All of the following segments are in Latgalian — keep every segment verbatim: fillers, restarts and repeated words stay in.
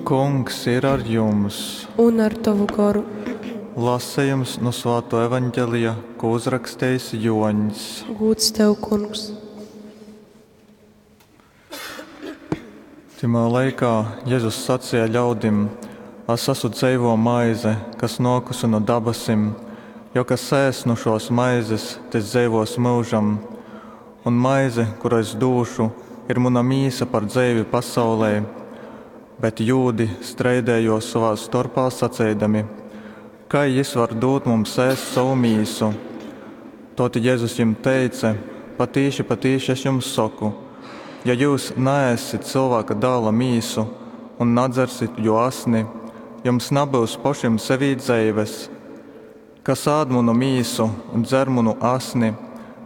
Kungs ir ar jums! Un ar tovu goru. Lasejums nu Svātuo Evangelija, ko uzrakstejis Juoņs. Gūds tev, Kungs! Tymā laikā Jezus saceja ļaudim: Es asu dzeivuo maize, kas nuokuse nu dabasim. Jo kas ēss nu šuos maizes, tys dzeivuos myužam. Un maize, kuru es dūšu, ir muna mīsa par dzeivi pasaulei. Bet jūdi streidējuos sovā storpā saceidami: Kai jis var dūt mums ēst sovu mīsu? Tod Jezus jim teice: Patīši, patīši es jums soku, ja jyus naēssit Cylvāka dāla mīsu un nadzersit juo asni, jums nabyus pošim sevī dzeives. Kas ād munu mīsu un dzer munu asni,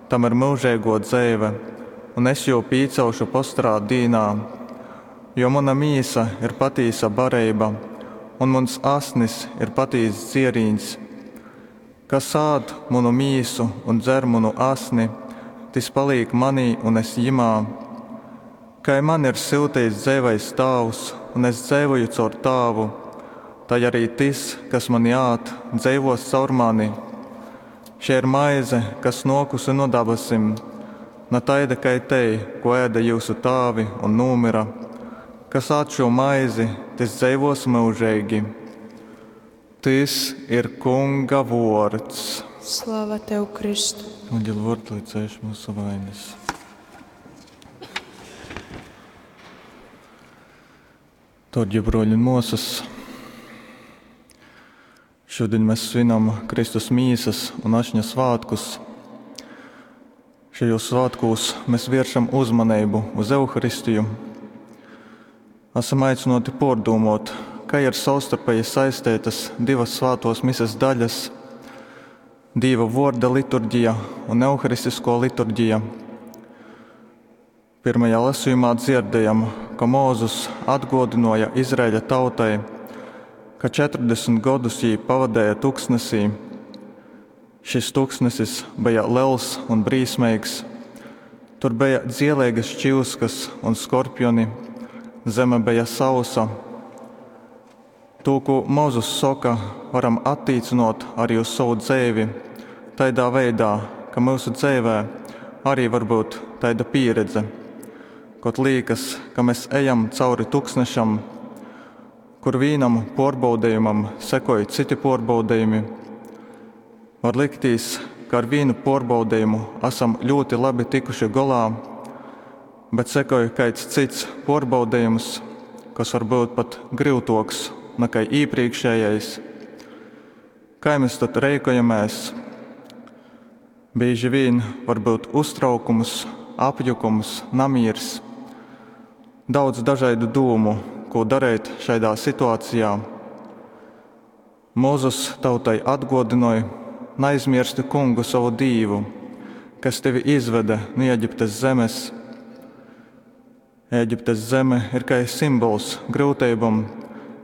tam ir myužeiguo dzeive, un es jū pīcelšu postorā dīnā. Jo muna mīsa ir patīsa bareiba, un muns asnis ir patīss dzierīņs. Kas ād munu mīsu un dzer munu asni, tys palīk manī un es jimā. Kai mani ir syutejis dzeivais Tāvs, un es dzeivoju caur Tāvu, tai arī tys, kas mani ād, dzeivos caur mani. Šei ir maize, kas nuokusi nu dabasim, na taida kai tei, ko ēde jyusu tāvi un nūmyra. Kas ād šū maizi, tys dzeivuos myužeigi. Tys ir Kunga vuords. Slava tev, Kristu! Evangeļa vuords, lai cēš mūsu vainas. Dārgie broļi un muosas, šodien mēs svinam Kristus mīsas un ašņa svātkus. Šajos svātkos mēs vēršam uzmanību uz Euharistiju. Esam aicināti pārdomāt, kā ir savstarpēji saistītas divas svētos mises daļas – Dīva vorda liturģija un Euharistisko liturģija. Pirmajā lasījumā dzirdējam, ka Mūzus atgodināja Izraēļa tautai, ka četrdesmit gadus jī pavadēja tuksnesī. Šis tuksnesis bija liels un brīsmīgs. Tur bija dzielīgas čīskas un skorpioni, zeme bija sausa. To, ko Mūzus saka, varam attīcinot arī uz savu dzeivi, tādā veidā, ka mūsu dzeivē arī var būt taida pieredze, kod liekas, ka mēs ejam cauri tuksnešam, kur vienam pārbaudījumam sekoja citi pārbaudījumi. Var liktīs, ka ar vienu pārbaudījumu esam ļoti labi tikuši golā, bet sekoja kāds cits pārbaudījums, kas var būt pat grūtāks nekā iepriekšējais. Kā mēs tad rīkojamies? Bieži vien var būt uztraukums, apjukums, namīrs. Daudz dažādu dūmu, ko darīt šādā situācijā. Mūzus tautai atgodināja: neaizmirsti kungu savu dīvu, kas tevi izveda no Ēģiptes zemes. Ēģiptes zeme ir kā simbols grūtībām,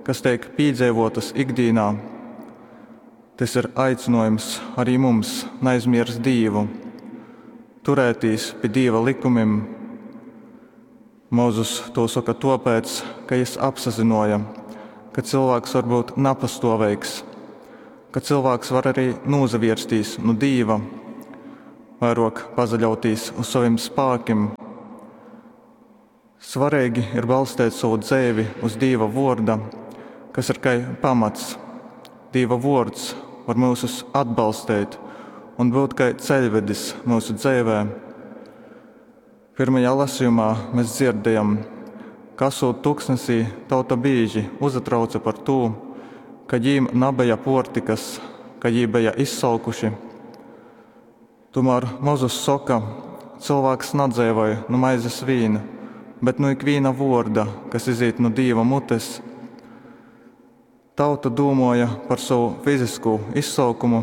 kas tiek piedzīvotas ikdienā. Tas ir aicinājums arī mums neaizmirst Dievu, turēties pie Dieva likumiem. Mūzus to saka tāpēc, ka jis apsazinoja, ka cilvēks var būt napastovīgs, ka cilvēks var arī nozavirstīs no Dieva, vairāk pazaļautīs uz saviem spēkiem. Svarīgi ir balstīt savu dzeivi uz Dieva vorda, kas ir kā pamats. Dieva vords var mūsus atbalstīt un būt kā ceļvedis mūsu dzeivē. Pirmajā lasījumā mēs dzirdējam, ka esot tuksnesī, tauta bieži uzatrauca par to, ka jīm nabeja portikas, ka jī beja izsalkuši. Tomēr Mozus saka, cilvēks nadzeivoja nu maizes vīna, bet nu ikviena vorda, kas iziet no Dieva mutes. Tauta domāja par savu fizisko izsalkumu,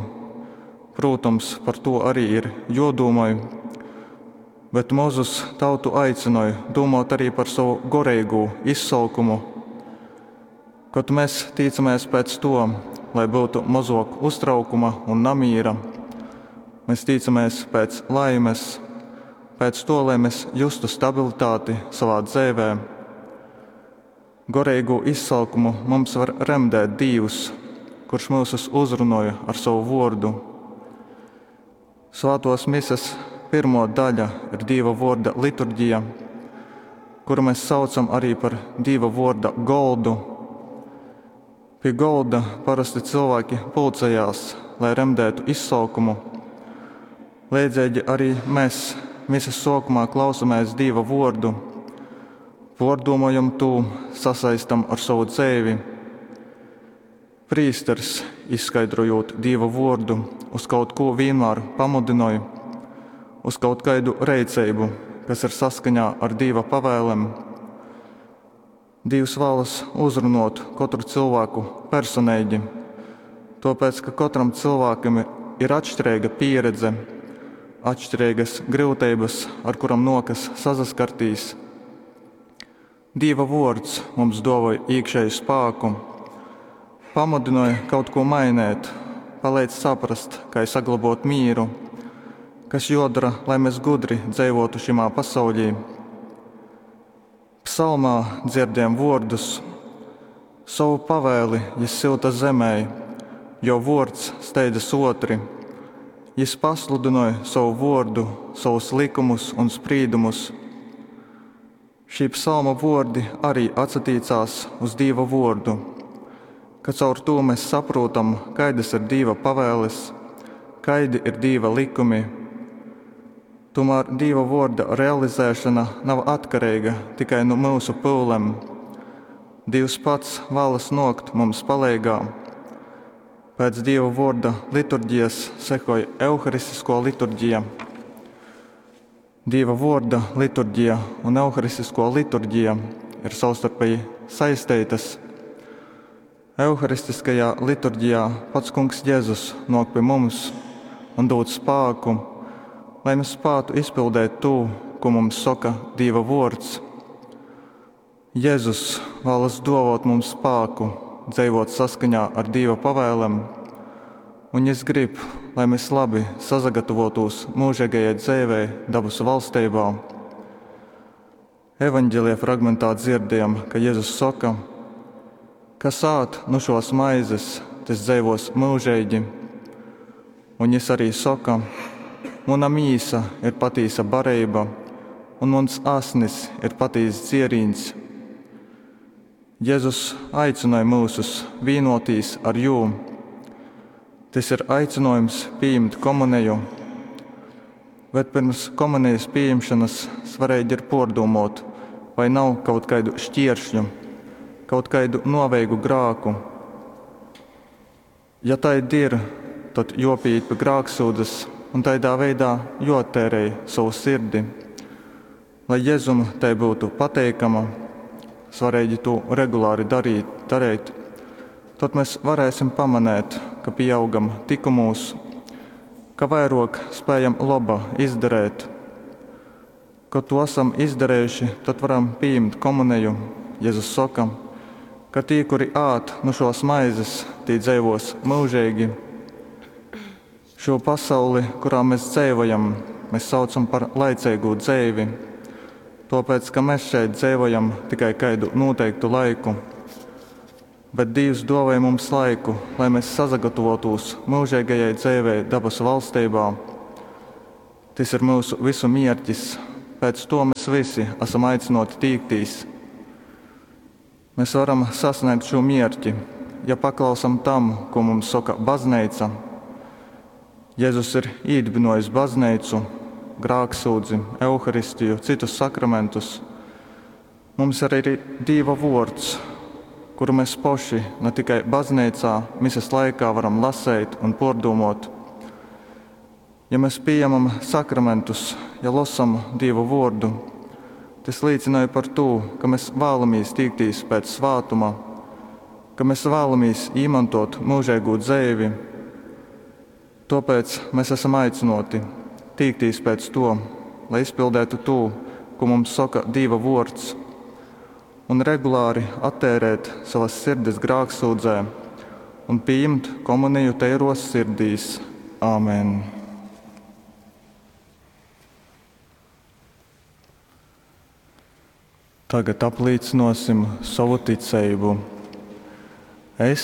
protams, par to arī ir jodomāj, bet Mozus tautu aicināja domāt arī par savu goreigo izsalkumu. Kad mēs tīcamies pēc to, lai būtu mazāk uztraukuma un namīra, mēs tīcamies pēc laimes, pēc to, lai mēs justu stabilitāti savā dzīvē. Goreigū izsolkumu mums var remdēt Dīvs, kurš myusus uzrunoj ar sovu vuordu. Svātuos Mises pyrmuo daļa ir Dīva vuorda liturgija, kuru mes saucam arī par Dīva vuorda goldu. Pi golda parosti cylvāki pulcejās, lai remdētu izsolkumu. Leidzeigi arī mes Mises suokumā klausomēs Dīva vuordu, puordūmojam tū, sasaistam ar sovu dzeivi. Prīsters, izskaidrojūt Dīva vuordu, uz kaut kū vīnmār pamudynoj, uz kaut kaidu reiceibu, kas ir saskaņā ar Dīva pavēlem. Dīvs vālas uzrunuot kotru cylvāku personeigi, tuopēc, ka kotram cylvākam ir atškireiga pīredze, atškireigas gryuteibys, ar kurom nuokas sasaskartīs. Dīva vuords mums duovoj īkšēju spāku, pamudynoj kaut kū mainēt, paleidz saprast, kai saglobuot mīru, kas juodora, lai mes gudri dzeivuotu šimā pasauļī. Psalmā dzierdējam vuordus: Sovu pavēli jis syuta zemei, jo vuords steidzas uotri. Jis pasludynoj sovu vuordu, sovus lykumus un sprīdumus. Šī psalma vuordi arī atsatīcās uz Dīva vuordu, ka caur tū mēs saprūtam, kaidas ir Dīva pavēles, kaidi ir Dīva likumi. Tomēr Dīva vuorda realizēšana nav atkareiga tikai nu myusu pyulem. Dīvs pats vēlas nuokt mums paleigā. Pēc Dīva vuorda liturģijas sekoj Euharistisko liturģija. Dīva vuorda liturģija un Euharistisko liturģija ir savstarpēji saisteitas. Euharistiskajā liturģijā pats Kungs Jēzus nāk pie mums un dod spāku, lai mēs spētu izpildēt tū, ko mums soka Dīva vuords. Jēzus vēlas dovot mums spāku dzeivot saskaņā ar Dīva pavēlem, un Jis grib, lai mēs labi sasagatavotūs mūžīgajai dzeivei dabasu valstībā. Evanģelija fragmentā dzirdējam, ka Jēzus soka, kas ād nu šos maizes, tas dzeivos mūžīgi. Un Jis arī soka, muna mīsa ir patīsa bareiba, un muns asnis ir patīss dzierīns. Jēzus aicināja mūsus vīnotīs ar jū. Tys ir aicinājums pieņemt komuniju, bet pirms komunijas pieņemšanas svarīgi ir pārdomot, vai nav kaut kādu šķieršļu, kaut kādu noveigu grāku. Ja taidi ir, tad jopīt pie grāksūdzes un taidā veidā jottērēj savu sirdi, lai Jēzum tai būtu pateikama, svarīgi to regulāri darīt, darīt, tad mēs varēsim pamanēt, ka pieaugam tikumūs, ka vairāk spējam laba izdarēt. Kad to esam izdarējuši, tad varam pieņemt komuniju. Jēzus soka, ka tī, kuri ād nu šos maizes, tī dzeivos mūžīgi. Šo pasauli, kurā mēs dzeivojam, mēs saucam par laicīgu dzeivi, tuopēc, ka mēs šeit dzeivojam tikai kaidu noteiktu laiku. Bet Dīvs dāvāja mums laiku, lai mēs sasagatavotūs mūžīgajai dzeivei dabasu valstībā. Tys ir mūsu visu mierķis, pēc to mēs visi esam aicināti tīktīs. Mēs varam sasniegt šo mierķi, ja paklausam tam, ko mums saka baznīca. Jēzus ir īdibinojis baznīcu, grāksūdzi, euharistiju, citus sakramentus. Mums arī ir Dīva vuords, kuru mēs poši ne tikai baznīcā, mises laikā varam lasēt un pārdomot. Ja mēs pieņemam sakramentus, ja losam Dievu vārdu, tas liecināja par to, ka mēs vēlamies tīktīs pēc svātuma, ka mēs vēlamies īmantot mūžīgo dzeivi. Tāpēc mēs esam aicināti tīktīs pēc to, lai izpildētu to, ko mums saka Dieva vārds, un regulāri attērēt savas sirdis grāksūdzē un pieņemt komuniju teiros sirdīs. Āmen! Tagad aplīcynōsim sovu ticeibu. Es